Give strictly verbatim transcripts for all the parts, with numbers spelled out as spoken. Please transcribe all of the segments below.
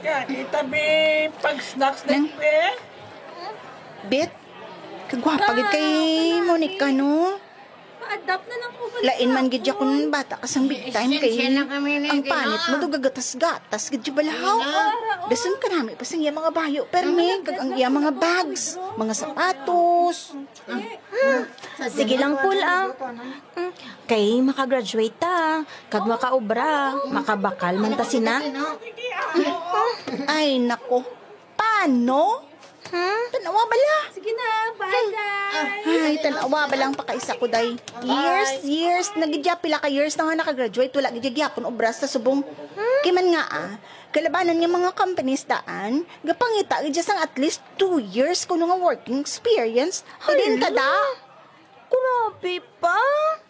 Kita bi pag snacks na Nang- eh. Bet, kagwapa gid kay Monica, no? Pa-adapt na lang ko. Lain man gid ya kun bata ka sang big time kay ang panit mo do gagatas-gatas gid ya balahaw. Dason kanami pa sang iya mga bayo, permi, kag ang iya mga bags, mga sapatos. Sige lang, Pul, ah. Mm, kay makagraduate ta, kag makaobra, makabakal man ta sina. Ay, nako. Paano? Hmm? Tanawa bala. Sige na, bye, guys. Ay, tanawa bala ang pakaisa ko, day. Years, years. Nagidya, pila ka years na nga nakagraduate, wala gid gyapon obra sa subong. Kay man nga, ah, kalabanan nga mga companies daan, gapangita gid sang at least two years kuno nga working experience. Halin ka da? Grabe pa.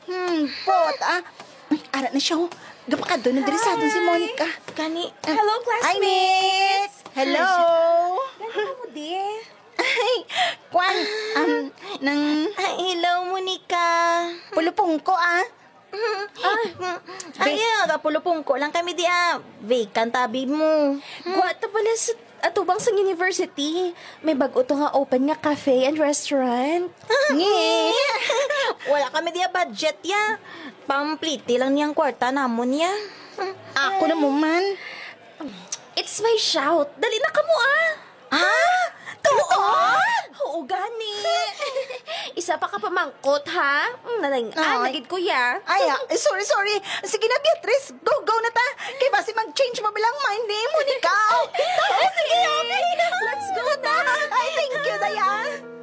Hmm, pot, ah. Ay, ara na siya, oh. Gapakadto na diri sa aton si Monica. Kani, ah, Hello, hi, classmates. Miss. Hello. Gani mo, di? Ay, kwan, um, nang Ay, hello, Monica. Pulupong ko, ah. Ay, ay, ah, pulupong ko lang kami di, ah. Vacant, tabi mo. Gwa ta pala sa atubang sa university. May bag-o to nga open nga cafe and restaurant. Ngi. Wala kami diya budget ya. Pampliti lang niyang kwarta namon ya. Ako na mo man. It's my shout. Dali na kamo, ah. Ah? Tuod? Oo, gani. Isa pa ka pamangkot, ha? Mm, nalang-an Ay. na gid ko ya. Ay, ah, eh, sorry, sorry. Sige na, Beatrice. Go, go na ta. Kay basi mag-change mo bilang mind ni Monica. Oh, sige, okay. Let's go na. Ay, thank you, Dayan.